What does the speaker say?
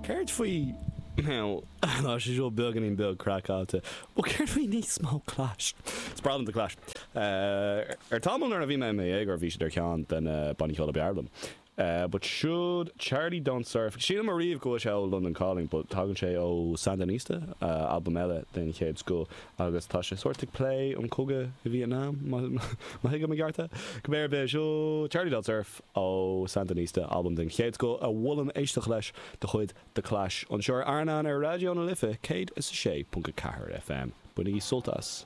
Céard faoi now tá sé seo beagáinín beag craiceáilte but céard faoi níos mó Clash? Is breá liom The Clash. Ar tamall nuair a bhí mé i mo dhéagóir bhí siad ar cheann de na bannaí ceoil ab fhearr liom. But siúd Charlie Don't Surf, shíl mé riamh go bhfuil sé ó London Calling but tagann sé ó Sandinista, albam eile den chéad scoth agus tá sé sórt ag plé an cogadh i Vietnam má thuigim i gceart é. Cibé ar bith, seo Charlie Don't Surf ó Sandinista, albam den chéad scoth a mholaim éisteacht leis de chuid The Clash anseo ar Airneán ar Raidió na Life 106.4 FM. Bainigí sult as.